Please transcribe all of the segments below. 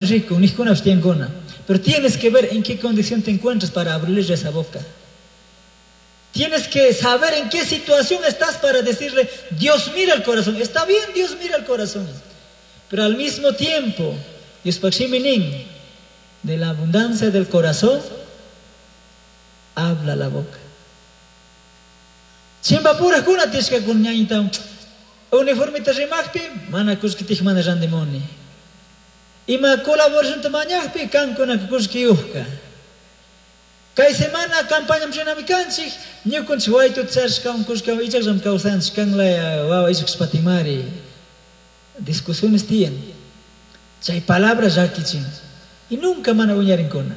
Rico, nijkunapish tiyankuna. Pero tienes que ver en qué condición te encuentras para abrirle esa boca. Tienes que saber en qué situación estás para decirle, Dios mira el corazón. Está bien, Dios mira el corazón. Pero al mismo tiempo, Dios nin, de la abundancia del corazón, habla la boca. Chimpapurakuna tishkakuna ñañita uniformita rimaqpi mana kullkitik mana randimuni. Ima colaboracionta mañaqpi kankuna kullkiyuqka. Kay semana campaña rinami kanchik, ñukunchik waytuta charishkawan kullkiwan ichakllami kawsanchik, kanlaya wawa ichakshpatimari. Discusiones tiyan. Chay palabra llakichin. Y nunca mana uñarinkuna.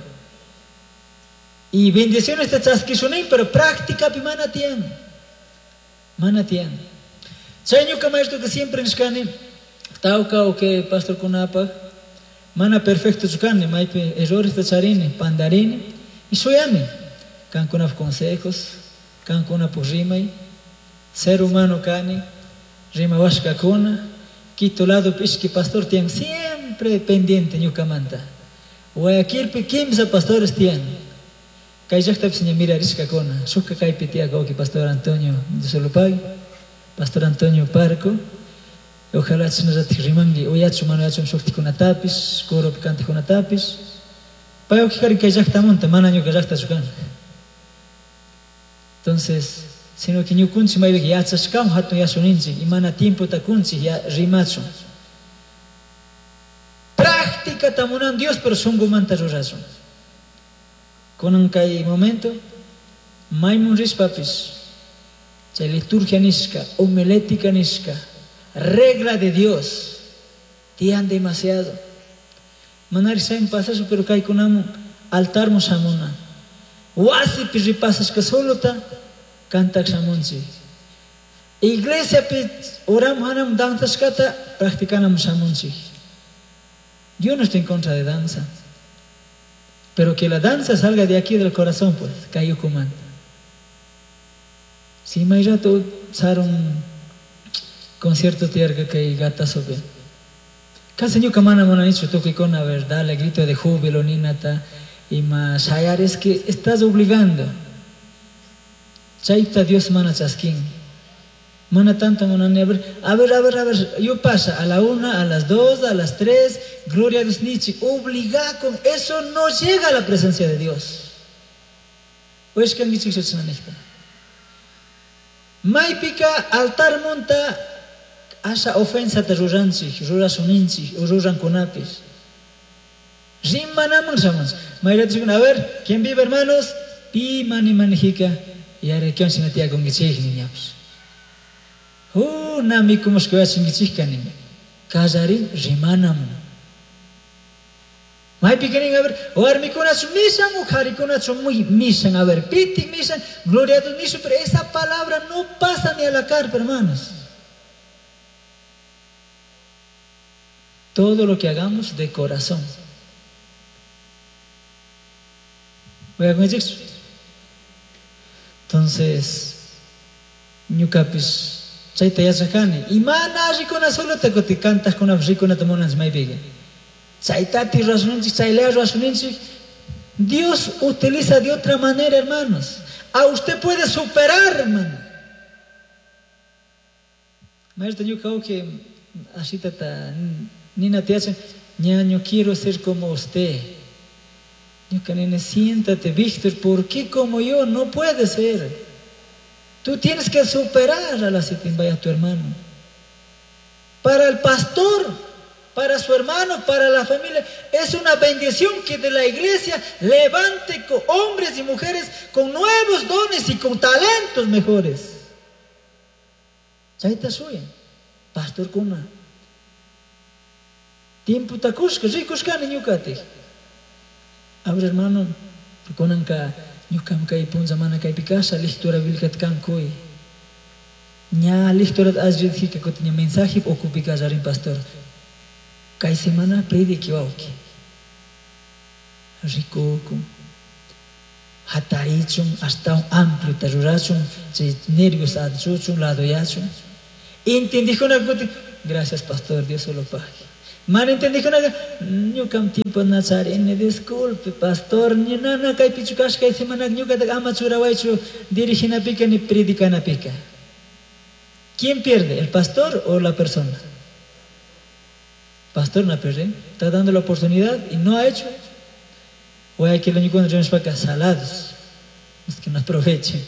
Y bendiciones te chaskishunin, pero práctica pi mana tiyan. Mana tiyan. Chay ñuka maestro que siempre nishkani, tawka o que pastor kunapaj, mana perfecto kani, maypi errores ta charini, pandarini, y suyani. Kankunapaj consejos, kankunapaj rimay, ser humano kani, rimawashkakuna, Quito lado ishki pastor tiyan siempre pendiente ñukamanta. Guayaquilpi kimsa pastores tiyan. Kay llaqtapis ña mirarishkakuna. Shukka kaypi tiyak wawki pastor Antonio Dios Pastor Antonio Parco. Ojalá chashnallatik rimanki uyachu mana uyachu shuktikunatapish, coropi kantikunatapish. Pay wawki kay llaqtamunta mana ñuka llaqtachu kan. Entonces, sino que ñukunchik maypika yachashkawan hatun yashuninchik y mana tiempota kunchik ya rimachun. Práctica munan Dios, pero shunqumanta rurashun. Kunan kay momento, maymun rishpapish, chay liturgia nishka, homilética nishka, regla de Dios, tiyan demasiado. Manari chaymi pasashun, pero kaykunamun altarmun shamuna. Wasipi ripasashka solota kantak shamunchik. Iglesiapi uramun hanamun danzashkata practicanamun shamunchik. Yo no estoy en contra de danza. Pero que la danza salga de aquí del corazón, pues, kay ukumanta. Si may rato sarun concierto tiyarka kay Gatasopi. Kasi ñuka mana munanichu tukuykuna, a ver, dale grito de júbilo ninata ima shayar, es que estás obligando. Chayta Dios mana chaskin. Mana tanto munani, a ver, a ver, a ver, a ver, yo pasa a la 1, a las 2, a las 3, gloria a Dios nichi, obliga con eso no llega a la presencia de Dios. Ushkankichik chashnanijta. Maypika altar munta asha ofensata ruranchik, rurashuninchik, o rurankunapish. Rimanaman shamunchik. Mayrachikuna, a ver, ¿quién vive, hermanos? Pi mani manijika, yare kion shina tiyakunkichik niñapish. Na mikumushka yachankichikka nin. Kallarin rimanamun. Maypika nin, a ver, warmikunachu mishan o qharikunachu muy mishan, a ver, pitik mishan, gloria a Dios nishu, pero esa palabra no pasa ni a la carpa, hermanos. Todo lo que hagamos de corazón. Voy a Entonces, ñukapish chayta yachakani. Y mana allikuna solota kuti kantaqkunapish rikunata munanchik maypiqa. Chaytati rurashunchik, chaylaya rurashunchik. Dios utiliza de otra manera, hermanos. A usted puede superar, hermano. Maestro, ñuka wawqi ashitata ninata yachan, ñaño, quiero ser como usted. Ñuka nini, siéntate, Víctor, ¿por qué como yo? No puede ser. Tú tienes que superar a la vaya tu hermano. Para el pastor, para su hermano, para la familia, es una bendición que de la iglesia levante con hombres y mujeres con nuevos dones y con talentos mejores. Chayta shuyan, pastor kuna. Tiempo takushka, rikushkani ñukatik. A ver, hermano, kunanka ñukam kay punlla mana kaypi kasha, lectura bíblica kankuy. Ña lectura allí kutin ña mensaje ocupi kallarin pastor. Kay semana predique wawki. Rikukun. Hatarichun, hasta un amplio rurachun, chay nervios adchuchun, ladoyachun. Entendijuna kutin, gracias pastor, Dios se lo pague. Mana entendikunaqa ñuqam tiempo nacharini, disculpe, pastor, nana kaypichu kashkay semana ñuqataqa ama churawaychu diriginapika ni predicanapika. ¿Quién pierde, el pastor o la persona? Pastor no pierde, está dando la oportunidad y no ha hecho. O hay que lo único salados, los que no aprovechen.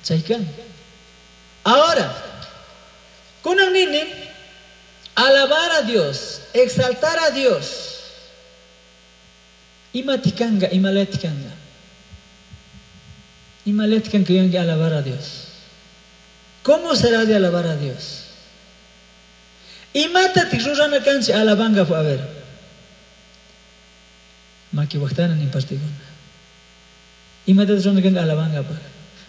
Chaykan. Ahora, kunan nini, alabar a Dios, exaltar a Dios. Imatikanga, imaletikanga. Imaletikanga que alabar a Dios. ¿Cómo será de alabar a Dios? Imata rurana kanchi alabanga a ver. Maki waqtana ni partiguna. Imata rurana kanchi alabanga pa.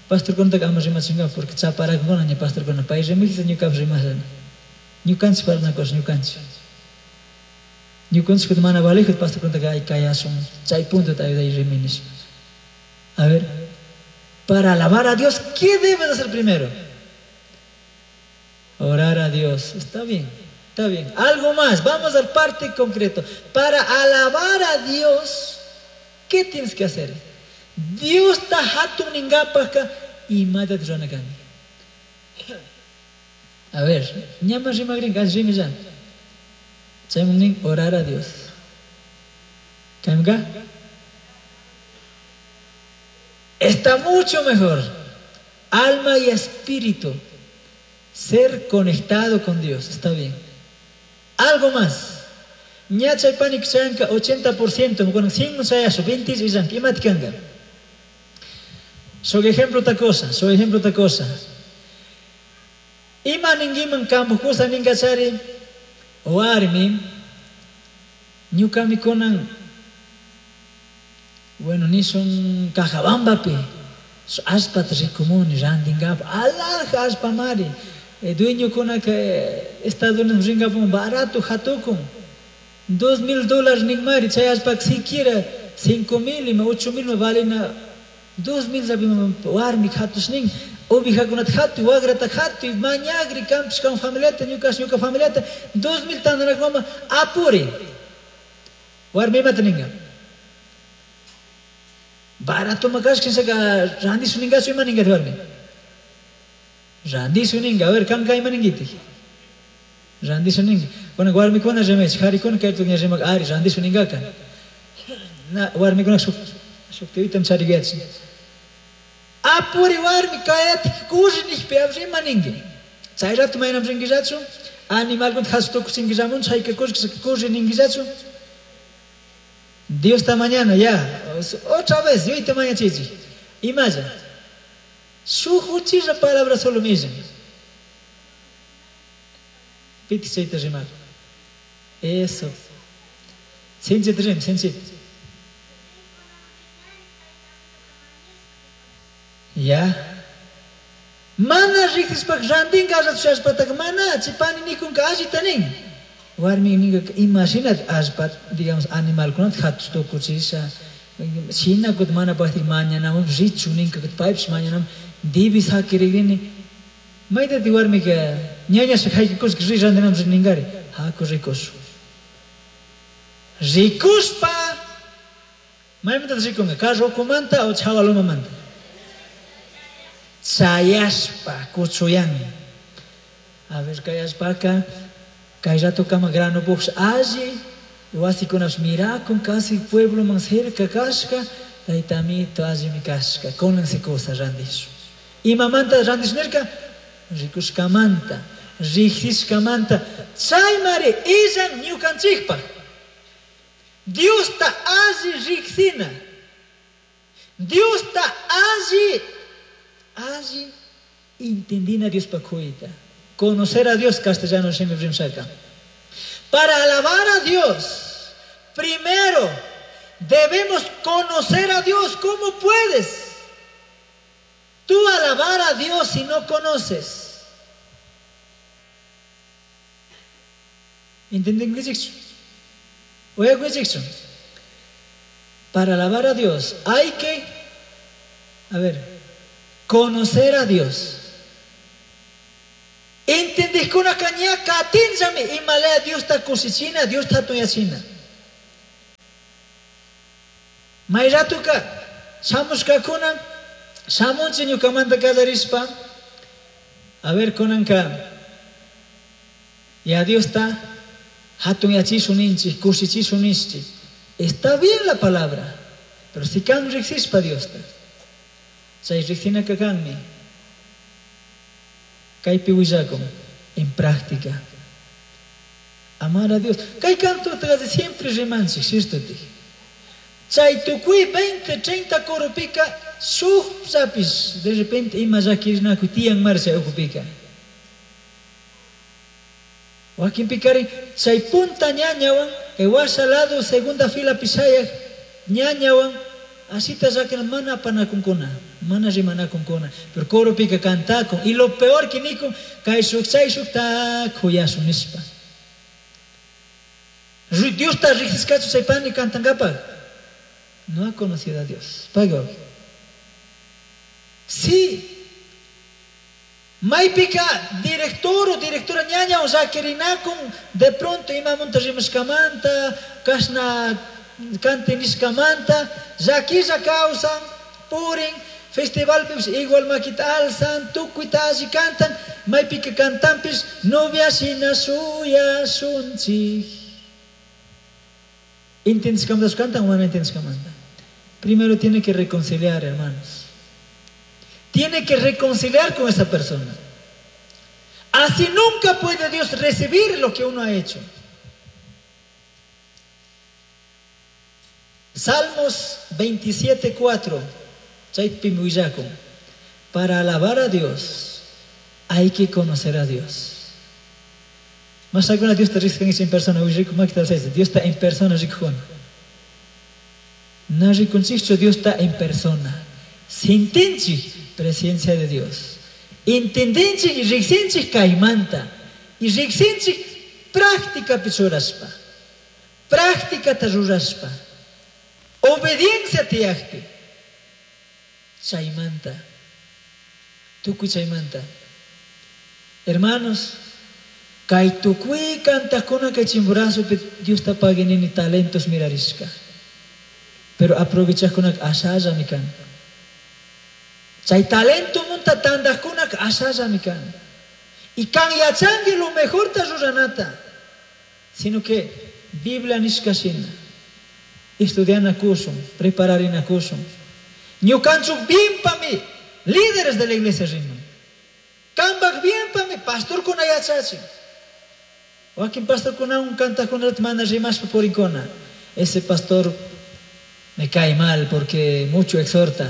Pastor kunta ama rimachinga porque chaparakuna ni pastor kuna pay rimiksa ñuka rimasani. Ñukanchik parlanakush ñukanchik. Ñukanchik mana valejut pastor kunta kay kayasun chay punto te ayuda y riminis. A ver, para alabar a Dios, ¿qué debes hacer primero? Orar a Dios. Está bien, está bien. Algo más, vamos al parte concreto. Para alabar a Dios, ¿qué tienes que hacer? Dios ta hatun ningapaka imata rurana. A ver, ñama rimagrin rimillan. Chaymun orar a Dios. ¿Kamga? Está mucho mejor. Alma y espíritu. Ser conectado con Dios. Está bien. Algo más. Ñachay panik chanka 80%, con 100 chayaso, 20 illanka, imatikanga. Soy ejemplo otra cosa, soy ejemplo otra cosa. Ima ningiman kampu kusa ningachari warmi ñukami kunan bueno nisun Cajabambapi allpata rikumuni randinkapa alhaja allpamari dueñokunaka Estados Unidos rinkapun barato hatukun $2,000 ninmari chay allpaka siquiera 5,000 ima 8,000 ma valina 2,000 warmi hatush nin ovejakunata hatuy wagrata hatuy mañagri kampish kan familiata ñukash ñuka familiata 2,000 tantanakmama apuri warmi imata ninga barato makashka saka randisu ningachu ima ningati warmi randisu ninga a ver kanka ima ningiti randisu ninga kuna warmikuna rimach qarikuna kayta rimak ari randisu ningaka na warmikuna shuk shuktivitam charigachik Apuri warmi kayatik kurri nishpi ima ningi. Chay rato maynam rinkillachu, animalkunata hasutukuchinkillamun, chayka kurri ninkillachu. Dios está mañana ya, otra vez, yuyta mañachichik. Imalla. Shuk uchilla palabra solo millan. Piti chayta rimar. Eso. Sinchita rim, sinchita. Ya. Mana riqsishpaka rantinka allpataka mana chipani nikunka allita nin. Warmi ninka imashinata allpa, digamos, animalkunata hatush tukuchisha. Shina kut mana paktik mañanamun richu ninka kut paypish mañanamun dibis hakirikrini. Maytati warmika ñañasha haykushka ri rantinamun ninkari. Haku rikushun. Rikushpa maymantata rikunka carro ukumanta o chawalumamanta. Chayashpa kuchuyan. A ver, kayashpaka kay rato kama grano puqsh alli wasikunapish mirakun casi pueblo man cerca kashka taytamito allimi kashka kunansi kusa randish. Imamanta randish nirka rikushkamanta riqsishkamanta chaymari illan ñukanchikpaq. Diosta alli riqsina. Diosta alli alli entendina Dios pakuita. Conocer a Dios, castellano shimi rimshaka. Para alabar a Dios, primero debemos conocer a Dios. ¿Cómo puedes tú alabar a Dios si no conoces? ¿Entienden qué es? Para alabar a Dios hay que, a ver, conocer a Dios. Entender Entendijkunaka ña katinllami imalaya Diosta kushichina, Diosta hatuyachina. May ratuka shamushkakuna shamunchik ñukamanta kallarishpa, a ver kunanka ya Diosta hatunyachishun ninchik, kushichishun ninchik. Está bien la palabra, pero si kan riksishpa Diosta, chay riksinaka kanmi. Kaypi willakun en práctica. Amar a Dios. Kay canto siempre rimanchik, cierto? Chay tukuy 20, 30 corupika shuk zapis de repente ima llakirinakuy tiyan marcha ukupika. Wakinpikarin chay punta ñañawan kay washa lado segunda fila pishayaq ñañawan asita llakina mana apanakunkuna, mana rimanakunkuna, pero coropika cantakun y lo peor que nikun kay shuk chay shukta kuyashun nishpa. Diosta riqsishkachu chay pani cantankapaq. No ha conocido a Dios. Pago. Sí. Maypika director o directora ñaña o llakirinakun de pronto imamunta rimashkamanta, kashna cantinishkamanta, llakilla kawsan, purin, festivalpipish igual makita alzan, tukuyta alli cantan, maypika cantanpish novia shina shuyashunchik. ¿Entiendes cantan o no entiendes cantan? Primero tiene que reconciliar, hermanos. Tiene que reconciliar con esa persona. Así nunca puede Dios recibir lo que uno ha hecho. Salmos 27:4. Para alabar a Dios hay que conocer a Dios. Más alguna Dios te riesga en persona, Dios está en persona, rico. No Dios está en persona. Sintinchi presencia de Dios. Entendenchi y riksinchi kaymanta. Y riksinchi práctica pichuraspa. Práctica taruraspa. Obediencia tiyakpi. Chaymanta. Tukuy chaymanta. Hermanos, kay tukuy kantakuna kay Chimborazopi Dios ta paguinini talentos mirarishka. Pero aprovechajkunaka ashallami kan. Chay talento munta tandajkunaka ashallami kan. Y kan yachanki lo mejor ta ruranata. Sino que Biblia nishka shina. Estudiana kushun, prepararina kushun. Ñukanchuk bien pa mi, líderes de la iglesia riman. Kambak bien pa mi, pastor kuna yachachin. Wakin pastor kuna un kantakuna mana rimashpa purinkuna. Ese pastor me cae mal porque mucho exhorta.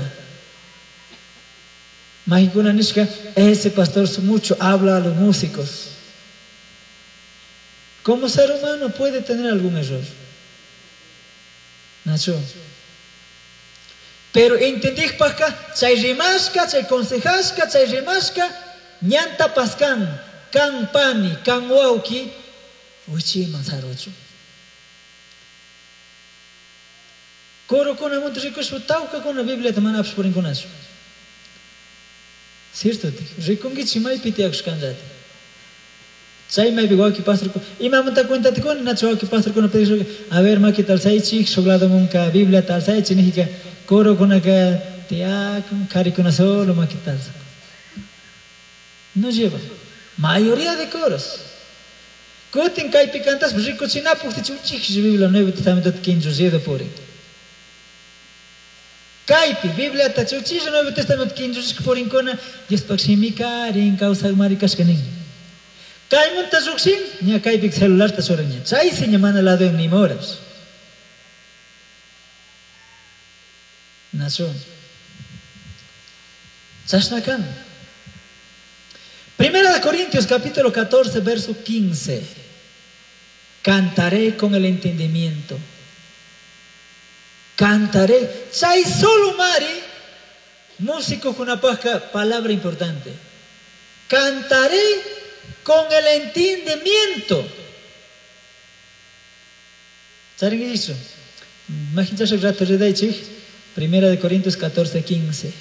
Mahikuna nishka, ese pastor mucho habla a los músicos. ¿Cómo ser humano puede tener algún error? Nacho. Pero entendijpajka, chay rimashka, chay consejashka, chay rimashka, ñanta paskan, kan pani, kan wauki, wichiman saruchu. Corokuna monte rikushpa tawkakuna Bibliata mana apashpa purinkunachu. Cierto, rikunkichik maypi tiyakushkanllata. Chay maypi wawki pastorkuna, imamanta cuentata kuni, nachu wawki pastorkuna pedishpa, a ver makita alzaychik, shuk ladomunka Bibliata alzaychik nijika, corokunaka tiyakun, karikuna solo makita alzakun. No lleva. Mayoría de coros. Kutin kaypi kantaspa rikuchinapuktichik uchiklla Biblia Nuevo Testamento kinchullido purin. Kaypi Bibliata chuchilla Nuevo Testamento kinchullishka purinkuna, Diospaq shimikarin kawsaqmari kashka nin. Kaymunta lluqshin, ña kaypi celularta churan ña. Chaysi ña mana ladoyan nima horas. Nacho. Chashna kan. Primera de Corintios capítulo 14 verso 15. Cantaré con el entendimiento. Cantaré. Chay solo mari, músico con una paja, palabra importante. Cantaré con el entendimiento. ¿Saben qué dice? Imagínense rato Primera de Corintios 14, 15.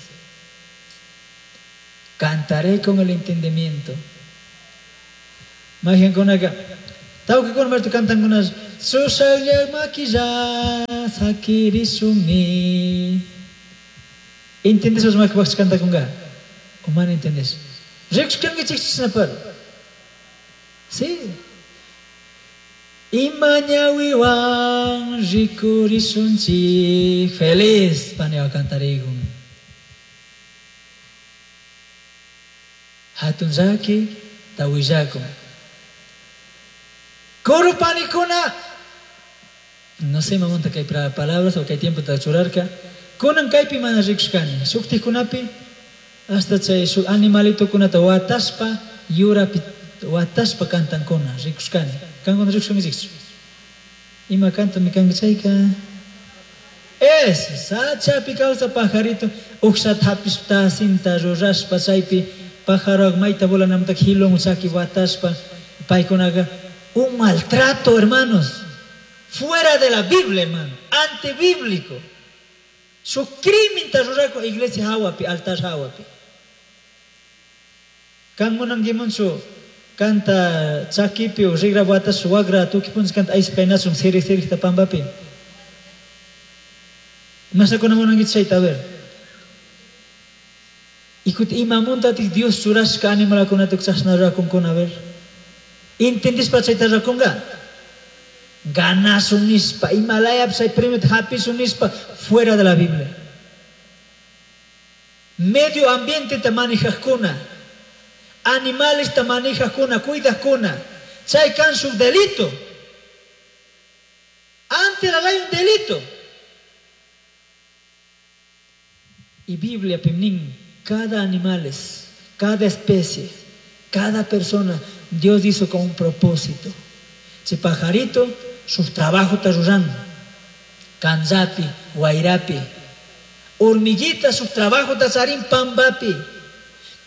Cantaré con el entendimiento. Mayqinkunaqa tawkakuna martu kantankuna chushaqlla makilla sakirisuni. Entendispas makipaqchu kantakunqa? O mana entendis? Rikushkankichikchu chishnapar? Sí. Ima ñawiwan rikurisunchik feliz paniwan kantarikun. Hatun llaki tawillakun. Coro panikuna, no sé imamunta kay palabras o kay tiempota churarka, kunan kaypi mana rikushkani, shuktikkunapi hasta chay shuk animalitokunata watashpa yurapi watashpa kantankuna rikushkani. Kankuna rikushkankichikchu? Ima kantami kanki chayka? Es sachapi kawsa pajarito uqshata hapishpa tasinta rurashpa chaypi pájaro mayta volanamanta hilun chaki watashpa paykunaqa un maltrato, hermanos, fuera de la Biblia, hermano, antibíblico. Shuk crimen rurako iglesia hawapi, altar hawapi. Kan munankimunchu kanta chakipi o rigra watas wagra tuki puncha kanta ayspaynasun siri sirikta pampapi. Masakuna munankichu chayta, a ver. Y kuti imamuntatik Dios churashka animalkunata chashna rurakunkuna, a ver. Entendispa chayta rurakunka? Ganasun nispa, imalaya chay premio hapisun nispa, fuera de la Biblia. Medio ambiente ta manejajkuna, animales ta manejajkuna, cuidajkuna, chay kan shuk delito. Ante la ley un delito. Y Biblia pimnin, cada animales, cada especie, cada persona, Dios hizo con un propósito. Che pajarito, su trabajo está rurando. Kanzapi, guairapi. Hormiguita, su trabajo está charín pambapi.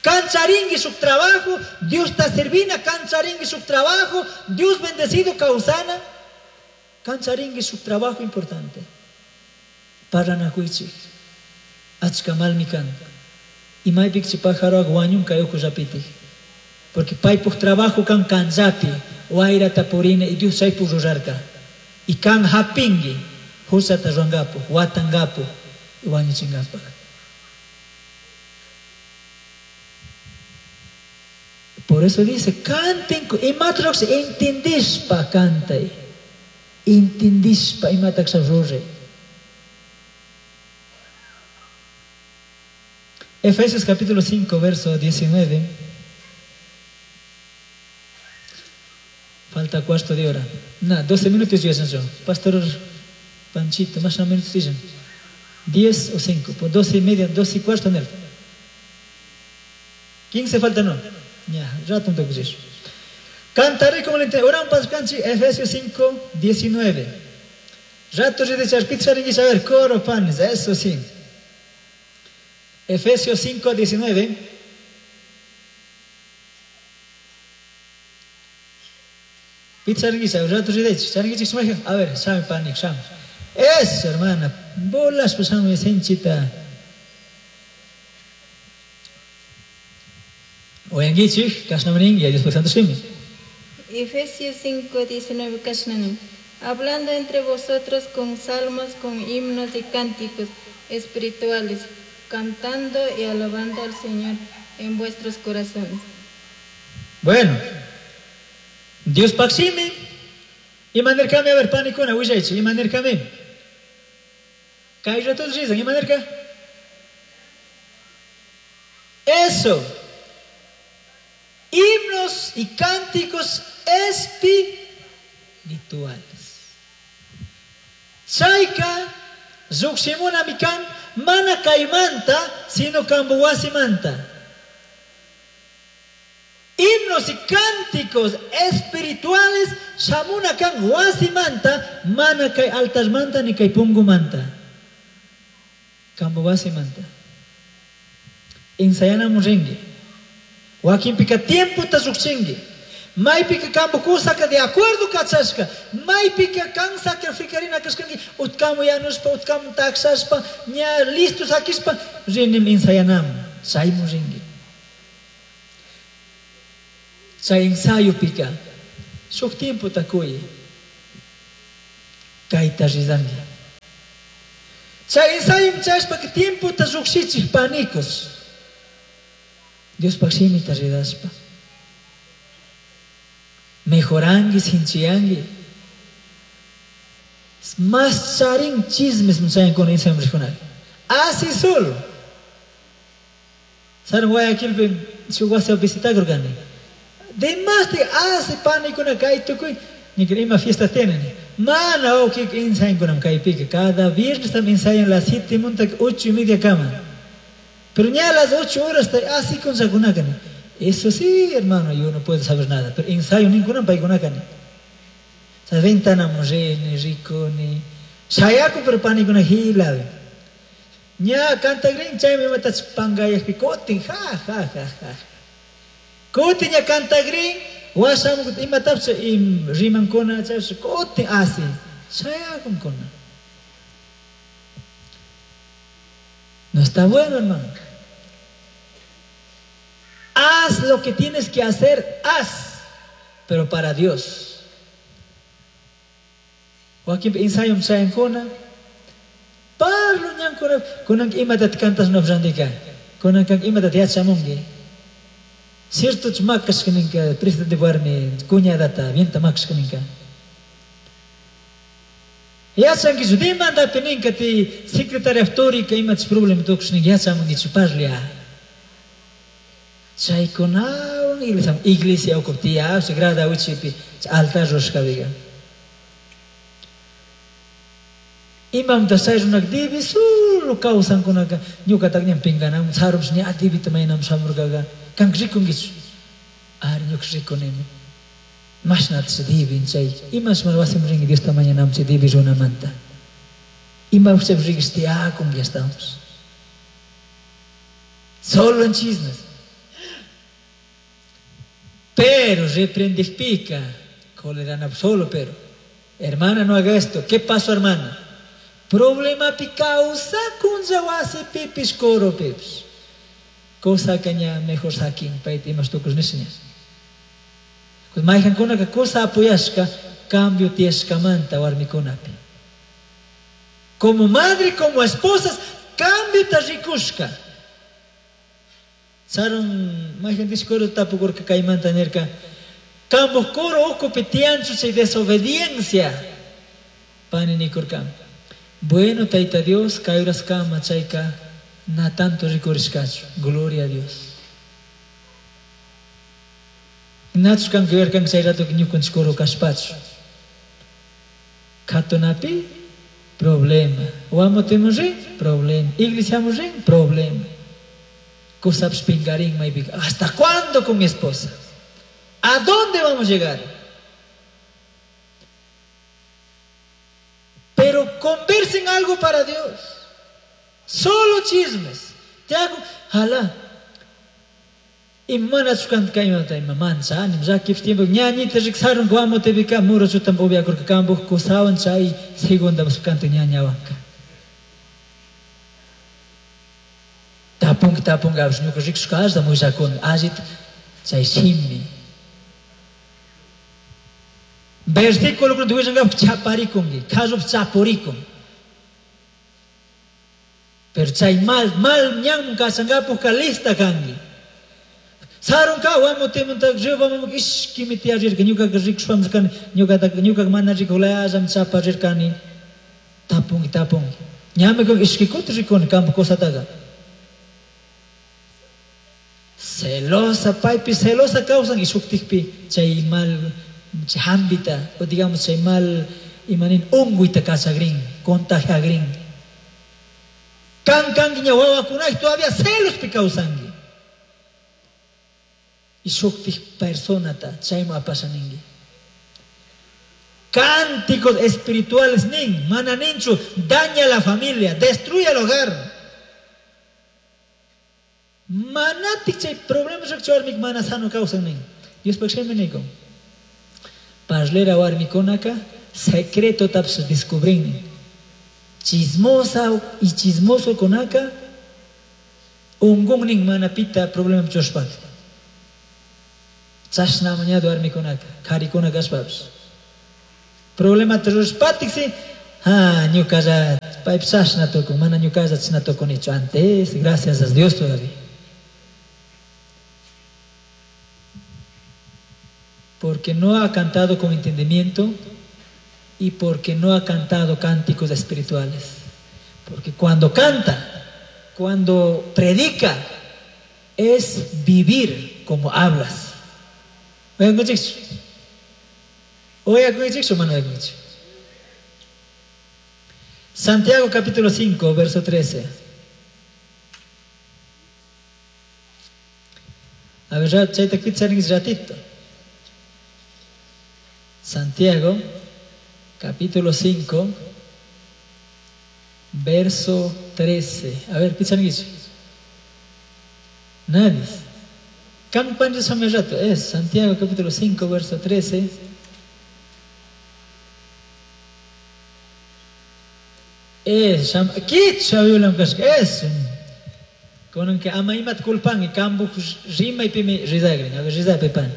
Cancharingui su trabajo, Dios está servina, cancharingui su trabajo, Dios bendecido causana. Cancharingui su trabajo importante. Paranahuichi, achkamalmi kan. Y maypik chi pájaro wañun kay uku rapiti. Porque paypuk trabajo kan kanzapi, wayrata purina y Dios chaypuk rurarka. Y kan hapingui, husata ruangapu, watangapu, y wañuchingapak. Por eso dice, canten, imatrox entendispa cantay. Entendispa imatax rurre. Efesios capítulo 5, verso 19. Falta cuarto de hora. No, 12 minutos ya yo. Pastor Panchito, más o menos dicen. 10 o 5, por 12 y media, 12 y cuarto en el. 15 falta no. Ya, rato un toque. Cantaré como le entiendo. Oran pascanchi, Efesios 5, 19. Rato de charpitza a ver, coro panes, eso sí. Efesios 5, 19. Pizza rato de a ver, sabe panik, sabe. Eso, hermana, bolas pasamos senchita. Oyangichik, kashnamanin, y Dios por santo shimi. Efesios 5, 19, kashnamanin. Hablando entre vosotros con salmos, con himnos y cánticos espirituales, cantando y alabando al Señor en vuestros corazones. Bueno, Dios paximi, imanerkami, a ver, panikuna, willaychi, imanerkami. Kay ratos rizan, imanerka. Eso. Himnos y cánticos espirituales. Chayka, lluqshimuna mikan, mana kaymanta, sino kambuwasimanta. Himnos y cánticos espirituales, shamuna kan wasimanta, mana kay altarmanta ni kay pungumanta. Kambuwasimanta. Ensayanamun ringi. Wakinpika tiempo ta lluqshinki. Maypika kambukusaka de acuerdo kachashka. Maypika kan sacrificarina kashkanki. Utkamu yanushpa, utkamu taksashpa, ña listo sakishpa, rinim ensayanamun. Chaymun rinki. Chay ensayopika shuk tiempota kuy kayta rizanki. Chay ensayo chashpa tiempota llukshichik panicos. Diospaj shimita ridashpa. Mejorangi, sinchiyangi. Mas charin chismes chayankuna ensayo regional. Así solo. Sarun Guayaquilpi shuk wasi visitakurkani. Demás de hace panikuna kay tukuy ni ima fiesta tienen. Mana wawkika ensayankunam kaypika. Cada viernes también ensayan las 7 munta 8:30 kama. Pero ya a las 8 horas así con sakunakani. Eso sí, hermano, yo no puedo saber nada. Pero ensayo ninguna paykunakani. O sea, ventana rini, rikuni. Shayaku pero panikuna hilabi. Ña cantagrin chaymi imatach pangayakpi kutin ja ja ja ja. Kutin ña cantagrin washamu imatapish im rimankuna chaypish kutin asi shayakunkuna. No está bueno, hermano. Haz lo que tienes que hacer, haz, pero para Dios. Wakin ensayo chayankuna, parlo ñankuna, kunan imatat cantas no randika, kunan kan imatat yachamunki. Cierto makashkaninka, presidente warmi, cuñadata, vienta makashkaninka. Yachankichu, demandapi ninka ti secretaria autórica imachus problema tukushninka yachamunkichu parlia. Chaykunawan iglesia, iglesia ukupi tiyashpa grada wichipi altar rurashkapiqa. Imamta chay runaka dibi solo kawsankunaka ñukatak ñan pinkanamun sarunpish ña dibita mañanamun shamurkaka kanka rikunkichu. Ari ñuka rikunimi. Mashnatash dibin chay imash mana wasiman rinki Diosta mañanamun chay dibi runamanta. Imapish chaypi rikish tiyakunki ashtawanpish. Solo en chismes. Pero reprendikpika, cólera solo pero. Hermana, no haga esto. ¿Qué pasó, hermana? Problema pi kawsakunlla wasipipish coropipish. Cosa ña mejor sakin payta imash tukush nisha. Mayqankunaka cosa apoyashka cambio tiyashkamanta warmikunapi. Como madre, como esposas, cambio ta rikushka. Sarun mayqan coro tapukurka kaymanta nirka kambuj coro ukupi tiyanchu chay desobediencia. Pani nikurka. Bueno, Taita Dios, kay kama chayka na tanto rikurishkachu. Gloria a Dios. Nachu kanka yuyarkanki chay rato ñukanchik coro kashpachu. Katunapi problema. Wamutimon rin problema. Iglesiamun rin problema. Kusapish pinkarin maypika. ¿Hasta cuándo con mi esposa? ¿A dónde vamos a llegar? Pero conversen algo para Dios. Solo chismes. Te hago, jala. Imana chukanta imata ima manchani, llakipis tiempo ñañita riksarun guamotepika muro chutan upiakurka kambuj kusawan chay segunda kanta ñañawanka. Tapunki tapunki apish ñuka rikushkashta willakuni allita chay shimi. Versículo kunata willankapak chaparikunki, kallupi chapurikun. Pero chay mal, mal ñanman kachankapuka lista kanki. Sarunka wamutimanta ribamun ishkimi tiyarirka ñukaka rikushpami kani ñukataka ñukaka mana rikulayallam chaparirkani. Tapunki tapunki. Ñami ishki kuti rikuni kampak kusataka. Celosa, paypi celosa kawsan y shuktikpi chay mal chay hambita o digamos chay mal imanin unguyta kachagrin, contagiagrin. Kan kanki ña wawakunay todavía celospi kawsanki. Y shuktik personata chayman apashaninki. Cánticos espirituales nin, mana ninchu, daña la familia, destruye el hogar. Manatik chay problemas warmik mana sano kawsan nin. Diospaj shimi nikun. Parlera warmikunaka secreto tapish descubrin. Chismosa y chismoso kunaka ungun nin mana pita problema chushpaka. Chashna mañado warmikunaka, karikuna kashpapish. Problemata rurashpatiksi, ha, ñukalla, paypish chashna tukun, mana ñukalla chashna tukunichu antes, gracias a Dios todavía. Porque no ha cantado con entendimiento y porque no ha cantado cánticos espirituales. Porque cuando canta, cuando predica, es vivir como hablas. Santiago capítulo 5, verso 13. A ver, chayta kitsaringuis ratito. Santiago capítulo 5, verso 13. A ver, kitsaringuis. Nadie. Kan rato es Santiago capítulo 5, verso 13. Es, kicha violam kashka es. Con que ama imat culpan y kambu rima y pimi rizagrin. A ver, rizay pan.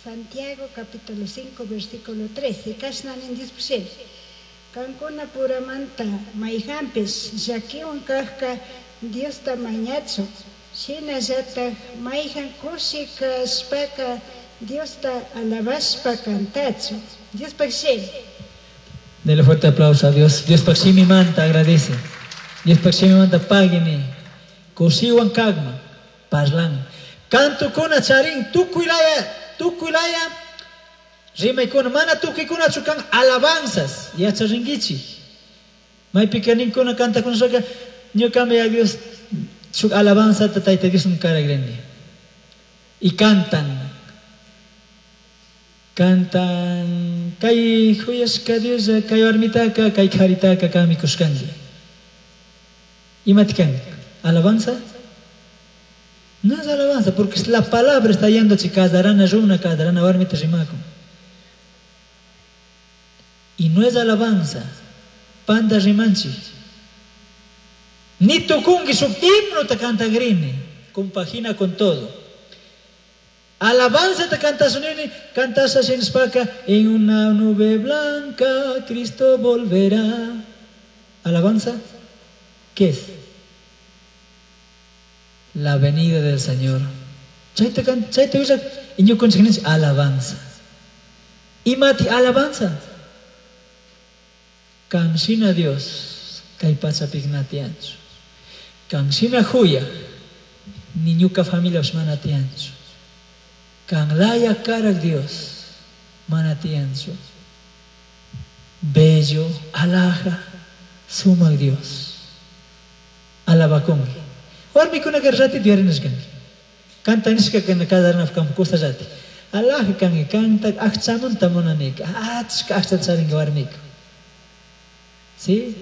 Santiago capítulo 5, versículo 13. Kashnanin Diospishil. Kankuna puramanta mayhanpish llakiwan kajka Diosta mañachu. Shinallataq mayhan kushi kashpaka Diosta alabashpa cantachu. Diospaq shimi. Dele fuerte aplauso a Dios. Diospaq shimi manta agradece. Diospaq shimi manta pagini. Kushiwan kagma parlan. Kantukuna charin tukuylaya tukuylaya rimaykuna mana tukuykunachu kan alabanzas yacharinkichik. Maypika ninkuna kantakunashaka ñukami a Dios shuk alabanza tayta Dios karagrini. Y cantan. Cantan kay huyashka Dios kay warmitaka kay karitaka kami kushkanki. Imati kan? Alabanza? No es alabanza, porque la palabra está yendo kadarana runa, kadarana warmita rimakun. Y no es alabanza. Panda rimanchi. Ni tukungi shuk himno te cantagrini. Compagina con todo. Alabanza te cantas cantas spaka en una nube blanca Cristo volverá. Alabanza, ¿qué es? La venida del Señor. Chayta chayta usa alabanza. Imati alabanza. Kanshina Dios kay pachapi tiyanchu. Kanshina huya ni ñuka familia mana tiyanchu. Kanlaya karak Dios mana tiyanchu. Bello, alhaja, sumak Dios. Alabakunki. Warmikuna ratito yarinashkanki. Kanta nishka kana kadarnaf kamkusa rati. Alhaja kanki kanta akchamunta munanika. Achka akcha charinka warmika. ¿Sí?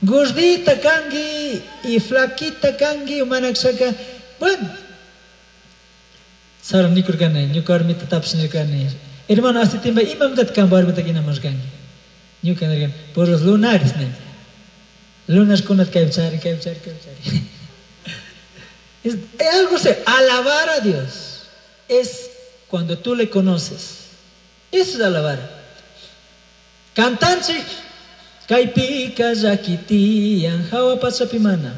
Gordita kangi y flaquita kangi umanakshaka. Bueno. Sara nikurkani, ñuka warmita tapish nirkani. Hermano, hace tiempo imamtat kan warmita kinamashkanki. Ñuka nirkani, por los lunares, ne. Lunas kunat kaypchari, kaypchari, kaypchari. Es algo se alabar a Dios es cuando tú le conoces. Eso es alabar. Cantanchik kaypika llakitiyan hawa pachapimana.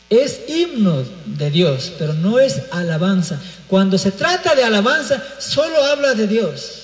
Es himno de Dios, pero no es alabanza. Cuando se trata de alabanza, solo habla de Dios.